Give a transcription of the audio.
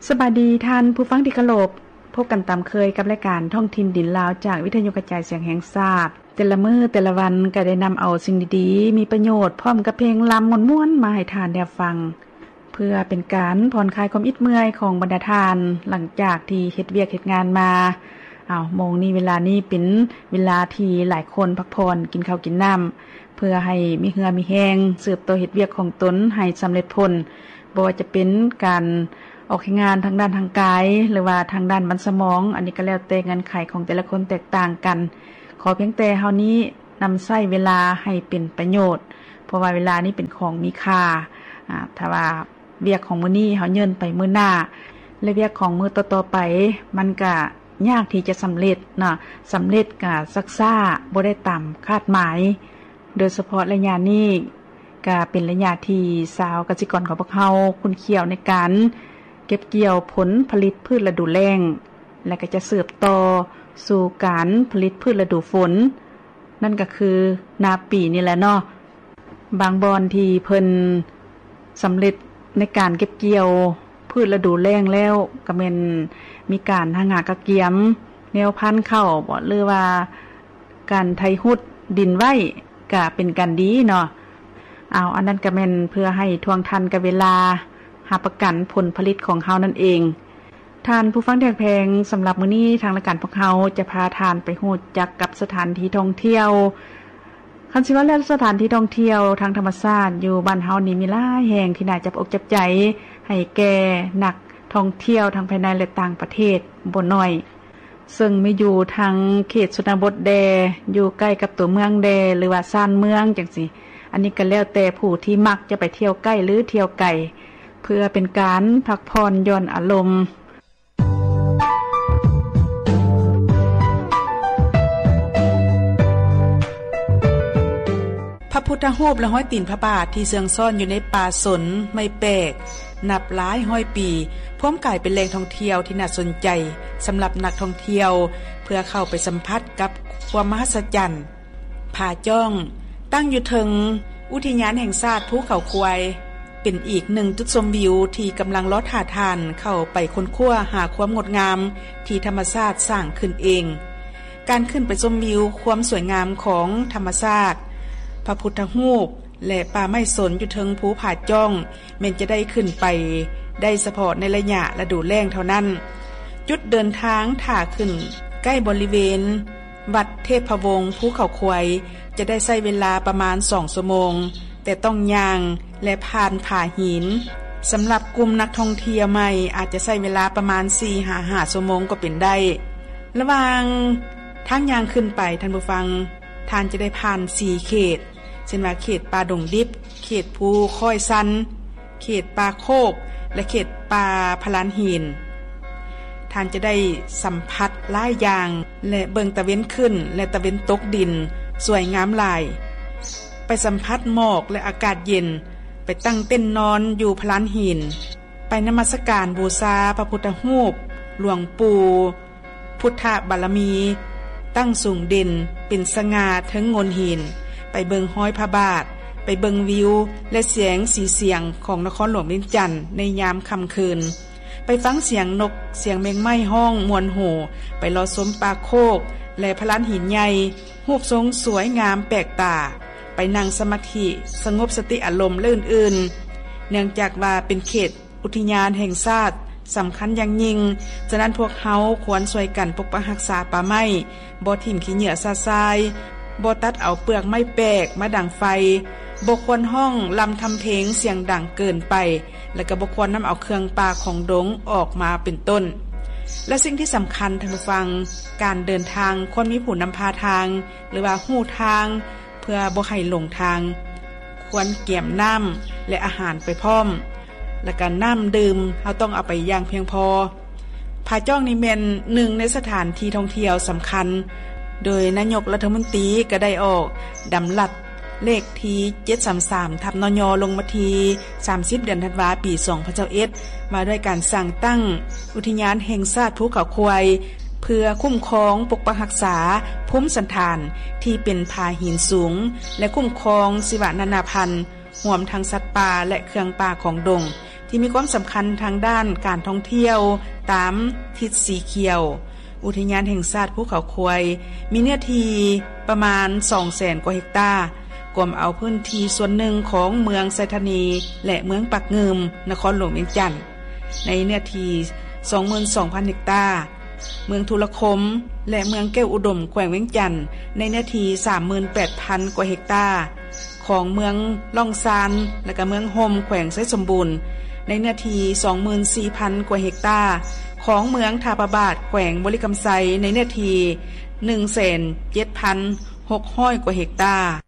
ສະບາຍດີທ່ານຜູ້ຟັງທີ່ເຄົາລົບ, ພົບກັນຕາມເຄີຍກັບລາຍການທ້ອງຖິ່ນດິນລາວ ຈາກວິທະຍຸກະຈາຍສຽງແຫ່ງຊາດ. ແຕ່ລະມື້ແຕ່ລະວັນກໍໄດ້ນຳເອົາສິ່ງດີໆ ມີປະໂຫຍດ ພ້ອມກັບເພງລຳມ່ວນໆ ມາໃຫ້ທ່ານໄດ້ຮັບຟັງ ເພື່ອເປັນການຜ່ອນຄາຍຄວາມອິດເມື່ອຍຂອງບັນດາທ່ານ ຫຼັງຈາກທີ່ເຮັດວຽກເຮັດງານມາ. ເອົາ ໂມງນີ້ເວລານີ້ເປັນເວລາທີ່ຫຼາຍຄົນພັກຜ່ອນ ກິນເຂົ້າກິນນ້ຳ ເພື່ອໃຫ້ມີເຫື່ອມີແຮງ ສືບຕໍ່ເຮັດວຽກຂອງຕົນໃຫ້ສຳເລັດຜົນ. ບໍ່ວ່າຈະເປັນການອອກແຮງງານທາງດ້ານທາງກາຍ ຫຼືວ່າທາງດ້ານມັນສະໝອງ, ອັນນີ້ກໍແລ້ວແຕ່ເງື່ອນໄຂຂອງແຕ່ລະຄົນແຕກຕ່າງກັນ. ຂໍພຽງແຕ່ເຮົານີ້ນຳໃຊ້ເວລາໃຫ້ເປັນປະໂຫຍດ, ເພາະວ່າເວລານີ້ເປັນຂອງມີຄ່າ. ອາ ຖ້າວ່າວຽກຂອງມື້ນີ້ເຮົາເຍີ້ນໄປມື້ໜ້າ ແລະ ວຽກຂອງມື້ຕໍ່ໆໄປ ມັນກະຍາກທີ່ຈະສຳເລັດເນາະ, ສຳເລັດກະຊັກຊ້າ ບໍ່ໄດ້ຕາມຄາດໝາຍ. ໂດຍສະເພາະໄລຍະນີ້ ກະເປັນໄລຍະທີ່ຊາວກະສິກອນຂອງພວກເຮົາຂຸ້ນຂ້ຽວໃນການເກັບກ່ຽວຜົນຜະລິດພືດລະດູແລ້ງ ແລະ ກະຈະສືບຕໍ່ສູ່ການຜະລິດພືດລະດູຝົນ, ນັ້ນກະຄືນາປີນີ້ແຫຼະເນາະ. ບາງບ່ອນທີ່ເພິ່ນສຳເລັດໃນການເກັບກ່ຽວພືດລະດູແລ້ງແລ້ວ ກະແມ່ນມີການຫາງາກະກຽມແນວພັນເຂົ້າບໍ ຫຼືວ່າ ການໄຖຫຸດດິນໄວ້ກະເປັນການດີເນາະ. ເອົາ ອັນນັ້ນກະແມ່ນເພື່ອໃຫ້ທ່ວງທັນກັບເວລາ ຮັບປະກັນຜົນຜະລິດຂອງເຮົານັ້ນເອງ. ທ່ານຜູ້ຟັງທີ່ຮັກແພງ, ສຳລັບມື້ນີ້ທາງລາຍການພວກເຮົາຈະພາທ່ານໄປຮູ້ຈັກກັບສະຖານທີ່ທ່ອງທ່ຽວ. ຄັນຊິວ່າແລ້ວສະຖານທີ່ທ່ອງທ່ຽວທາງທຳມະຊາດຢູ່ບ້ານເຮົານີ້ມີຫຼາຍແຫ່ງທີ່ໜ້າຈັບອົກຈັບໃຈໃຫ້ແກ່ນັກທ່ອງທ່ຽວທັງພາຍໃນ ແລະ ຕ່າງປະເທດບໍ່ໜ້ອຍ. ເຊິ່ງມີຢູ່ທັງເຂດຊົນນະບົດແດ່, ຢູ່ໃກ້ກັບຕົວເມືອງແດ່ ຫຼືວ່າຊານເມືອງຈັ່ງຊີ້. ອັນນີ້ກໍແລ້ວແຕ່ຜູ້ທີ່ມັກຈະໄປທ່ຽວໃກ້ ຫຼື ທ່ຽວໄກ ເພື່ອເປັນການພັກຜ່ອນຢ່ອນອາລົມ. ພະພຸດທະຮູບ ແລະ ຮອຍຕີນພະບາດທີ່ເຊື່ອງຊ້ອນຢູ່ໃນປ່າສົນໄມ້ແປກ ນັບຫຼາຍຮ້ອຍປີ ພວມກາຍເປັນແຫຼ່ງທ່ອງທ່ຽວທີ່ໜ້າສົນໃຈສຳລັບນັກທ່ອງທ່ຽວ ເພື່ອເຂົ້າໄປສຳຜັດກັບຄວາມມະຫັດສະຈັນ. ຜາຈ້ອງ ຕັ້ງຢູ່ເທິງອຸທິຍານແຫ່ງຊາດພູເຂົາຄວາຍ ເປັນອີກໜຶ່ງຈຸດຊົມວິວທີ່ກຳລັງລໍຖ້າທ່ານເຂົ້າໄປຄົ້ນຄວ້າຫາຄວາມງົດງາມທີ່ທຳມະຊາດສ້າງຂຶ້ນເອງ. ການຂຶ້ນໄປຊົມວິວຄວາມສວຍງາມຂອງທຳມະຊາດ, ພະພຸດທະຮູບ ແລະ ປ່າໄມ້ສົນຢູ່ເທິງພູຜາຈ້ອງ ແມ່ນຈະໄດ້ຂຶ້ນໄປໄດ້ສະເພາະໃນໄລຍະລະດູແລ້ງເທົ່ານັ້ນ. ຈຸດເດີນທາງຖ້າຂຶ້ນໃກ້ບໍລິເວນວັດເທບພະວົງ ພູເຂົາຄວາຍ ຈະໄດ້ໃຊ້ເວລາປະມານສອງຊົ່ວໂມງ, ແຕ່ຕ້ອງຍ່າງ ແລະ ຜ່ານຜາຫີນ. ສຳລັບກຸ່ມນັກທ່ອງທ່ຽວໃໝ່ ອາດຈະໃຊ້ເວລາປະມານສີ່ຫາຫ້າຊົ່ວໂມງກໍເປັນໄດ້. ລະຫວ່າງທາງຍ່າງຂຶ້ນໄປ, ທ່ານຜູ້ຟັງ, ທ່ານຈະໄດ້ຜ່ານສີ່ເຂດ ເຊັ່ນວ່າ ເຂດປ່າດົງດິບ, ເຂດພູຄ້ອຍຊັນ, ເຂດປ່າໂຄກ ແລະ ເຂດປ່າພະລານຫີນ. ທ່ານຈະໄດ້ສຳຜັດຫຼາຍຢ່າງ ແລະ ເບິ່ງຕາເວັນຂຶ້ນ ແລະ ຕາເວັນຕົກດິນສວຍງາມຫຼາຍ. ໄປສຳຜັດໝອກ ແລະ ອາກາດເຢັນ, ໄປຕັ້ງເຕັນນອນຢູ່ພະລານຫີນ, ໄປນະມັດສະການບູຊາພະພຸດທະຮູບຫຼວງປູ່ ພຸດທະບາລະມີ ຕັ້ງສູງເດັ່ນເປັນສະຫງ່າເທິງໂງ່ນຫີນ, ໄປເບິ່ງຮອຍພະບາດ, ໄປເບິ່ງວິວ ແລະ ແສງສີສຽງຂອງນະຄອນຫຼວງວຽງຈັນໃນຍາມຄ່ຳຄືນ, ໄປຟັງສຽງນົກ, ສຽງແມງໄມ້ຮ້ອງມ່ວນຫູ, ໄປເລາະຊົມປ່າໂຄກ ແລະ ພະລານຫີນໃຫຍ່, ຮູບຊົງສວຍງາມແປກຕາ, ໄປນັ່ງສະມາທິ, ສະຫງົບສະຕິອາລົມ ແລະ ອື່ນໆ. ເນື່ອງຈາກວ່າເປັນເຂດ ອຸທິຍານແຫ່ງຊາດສຳຄັນຢ່າງຍິ່ງ, ສະນັ້ນພວກເຮົາຄວນຊ່ວຍກັນປົກປັກຮັກສາປ່າໄມ້, ບໍ່ຖິ້ມຂີ້ເຫຍື້ອຊະຊາຍ, ບໍ່ຕັດເອົາເປືອກໄມ້ແປກມາດັງໄຟ, ບໍ່ຄວນຮ້ອງລຳທຳເພງສຽງດັງເກີນໄປ, ແລະ ກໍບໍ່ຄວນນຳເອົາເຄື່ອງປ່າຂອງດົງອອກມາເປັນຕົ້ນ. ແລະ ສິ່ງທີ່ສຳຄັນ, ທ່ານຜູ້ຟັງ, ການເດີນທາງຄວນມີຜູ້ນຳພາທາງ ຫຼືວ່າຮູ້ທາງ ເພື່ອບໍ່ໃຫ້ຫຼົງທາງ, ຄວນກຽມນ້ຳ ແລະ ອາຫານໄປພ້ອມ, ແລະ ກະນ້ຳດື່ມເຮົາຕ້ອງເອົາໄປຢ່າງພຽງພໍ. ຜາຈ້ອງນີ້ແມ່ນໜຶ່ງໃນສະຖານທີ່ທ່ອງທ່ຽວສຳຄັນ, ໂດຍນາຍົກລັດຖະມົນຕີກໍໄດ້ອອກດຳລັດເລກທີເຈັດສາມສາມ ທັບ ນຍ ລົງວັນທີສາມສິບ ເດືອນທັນວາ ປີສອງພັນຊາວເອັດ ວ່າດ້ວຍການສ້າງຕັ້ງອຸທິຍານແຫ່ງຊາດພູເຂົາຄວາຍ ເພື່ອຄຸ້ມຄອງປົກປັກຮັກສາພູມສັນຖານທີ່ເປັນຜາຫີນສູງ ແລະ ຄຸ້ມຄອງຊີວະນານາພັນ ຮວມທັງສັດປ່າ ແລະ ເຄື່ອງປ່າຂອງດົງ ທີ່ມີຄວາມສຳຄັນທາງດ້ານການທ່ອງທ່ຽວຕາມທິດສີຂຽວ. ອຸທິຍານແຫ່ງຊາດພູເຂົາຄວາຍ ມີເນື້ອທີ່ປະມານ ສອງແສນກວ່າເຮັກຕາ, ກວມເອົາພື້ນທີ່ສ່ວນໜຶ່ງຂອງເມືອງໄຊທານີ ແລະ ເມືອງປາກງື່ມ ນະຄອນຫຼວງວຽງຈັນ ໃນເນື້ອທີ່ ສອງໝື່ນສອງພັນເຮັກຕາ, ເມືອງທຸລະຄົມ ແລະ ເມືອງແກ້ວອຸດົມ ແຂວງວຽງຈັນ ໃນເນື້ອທີ່ ສາມໝື່ນແປດພັນກວ່າເຮັກຕາ, ຂອງເມືອງລ່ອງຊານ ແລະ ກະເມືອງຮົ່ມ ແຂວງໄຊສົມບູນ ໃນເນື້ອທີ່ ສອງໝື່ນສີ່ພັນກວ່າເຮັກຕາ, ຂອງເມືອງທ່າພະບາດ ແຂວງບໍລິຄຳໄຊ ໃນເນື້ອທີ່ ໜຶ່ງແສນເຈັດພັນຫົກຮ້ອຍກວ່າເຮັກຕາ.